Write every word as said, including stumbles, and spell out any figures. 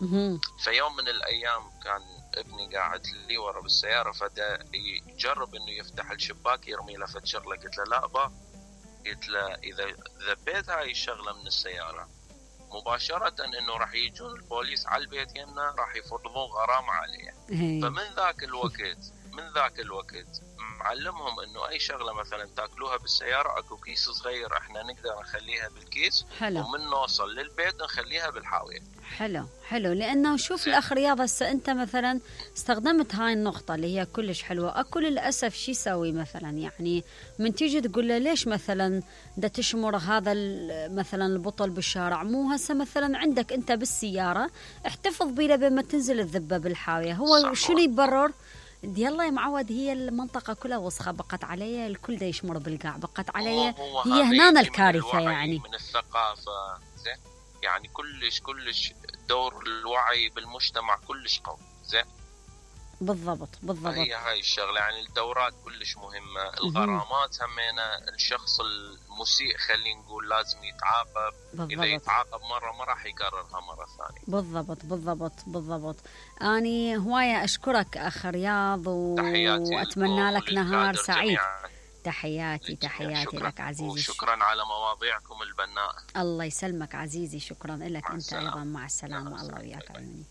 مهم. فيوم من الايام كان ابني قاعد لي ورا بالسياره، فدا يجرب انه يفتح الشباك يرمي له فد شغله. قلت له لا با، قلت له اذا ذبيت هاي الشغله من السياره مباشره انه راح يجون البوليس على البيت يمنا، راح يفرضون غرامه عليه. فمن ذاك الوقت من ذاك الوقت معلمهم انه اي شغله مثلا تاكلوها بالسياره اكو كيس صغير احنا نقدر نخليها بالكيس. حلو. ومن نوصل للبيت نخليها بالحاويه. حلو حلو. لانه شوف الاخ رياض، هسه انت مثلا استخدمت هاي النقطه اللي هي كلش حلوه. اكو للاسف شو يسوي مثلا، يعني من تيجي تقول له ليش مثلا دا تشمر هذا مثلا البطل بالشارع، مو هسه مثلا عندك انت بالسياره احتفظ بيه بين ما تنزل الذبه بالحاويه. هو شنو يبرر؟ يلا يا معود، هي المنطقة كلها وسخة، بقت علي الكل دا يشمر بالقاع، بقت علي هي هنا الكارثة. يعني من الثقافة زين، يعني كلش كلش دور الوعي بالمجتمع كلش قوي. زين بالضبط بالضبط. هي هاي الشغلة، يعني الدورات كلش مهمة. الغرامات همينة، الشخص المسيء خلينا نقول لازم يتعاقب. بالضبط. إذا يتعاقب مرة ما راح يكررها مرة ثانية. بالضبط بالضبط بالضبط. أني هواية أشكرك أخ رياض و... وأتمنى لك نهار سعيد. جميعاً. تحياتي تحياتي لك عزيزي، وشكرا على مواضيعكم البناءة. الله يسلمك عزيزي، شكرا لك أنت أيضا. مع السلامة. الله وياك عيوني.